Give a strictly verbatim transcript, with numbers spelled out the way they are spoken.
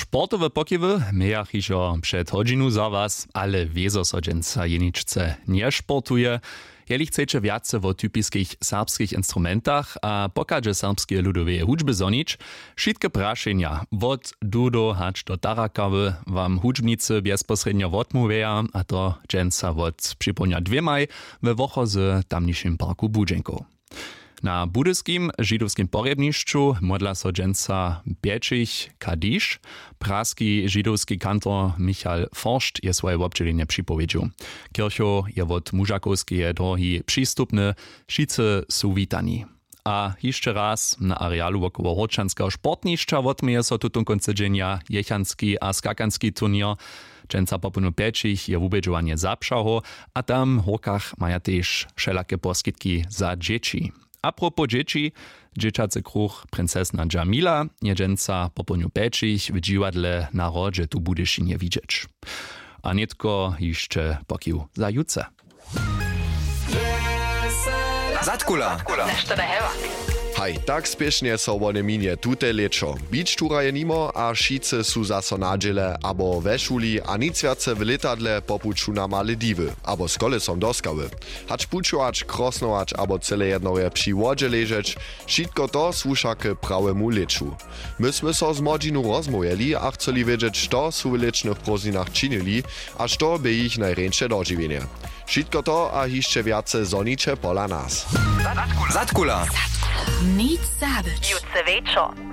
Sportowe pokiwy mějach hižo před hodźinu za was, ale wězo so dźensa jeničce nješportuje. Jeli chceće wjace wo typiskich serbskich instrumentach a pokadźe serbskeje ludoweje hudźby zhonić, wšitke prašenja wot dudo hač do tarakawy wam hudźbnicy bjezposrědnjo wotmołwjeja, a to dźensa wot připołdnja dwěmaj we wochozy w tamnišim parku budźenkow. Na budyskim židowskim porjebnišću modla so dźensa pjećich kadiš. Praski židowski kantor michal forscht je swoje wobdźělenje připowědźił. Kirchow je wot mužakowskeje drohi přistupny. Wšitcy su witani. A hišće raz na arealu wokoło hórčanskeho sportnišća wotměje so tutón kónc tydźenja jechanski a skakanski turněr. Dźensa popołdnju pjećich je wubědźowanje zapřahow, a tam w hórkach maja tež wšelake poskitki za dźěći. A propos dźěći, dźěćacy kruch princesna džamila je dźensa popołdnju pjećich w dźiwadle na hrodźe tu w budyšinje widźeć. A nětko hišće pokiw za jutře. Zadkula. Haj, tak spěšnje so wone minje tute lěćo. Bić tura je nimo a wšitcy su zaso na dźěle abo we šuli a nic wjace w lětadle po puću na malediwy abo z kolesom do skały. Hač pućować, krosnować abo cyle jednore při wodźe ležeć, wšitko to słuša k prawemu lěću. My smy so z młodźinu rozmołwjeli a chceli wědźeć, što su w lěćnych prózdninach činili a što bě jich najrjeńše dožiwjenje. Wšitko to a hišće wjace zhoniće pola nas. Zadkula. Nic zabyć. Jutře wječor.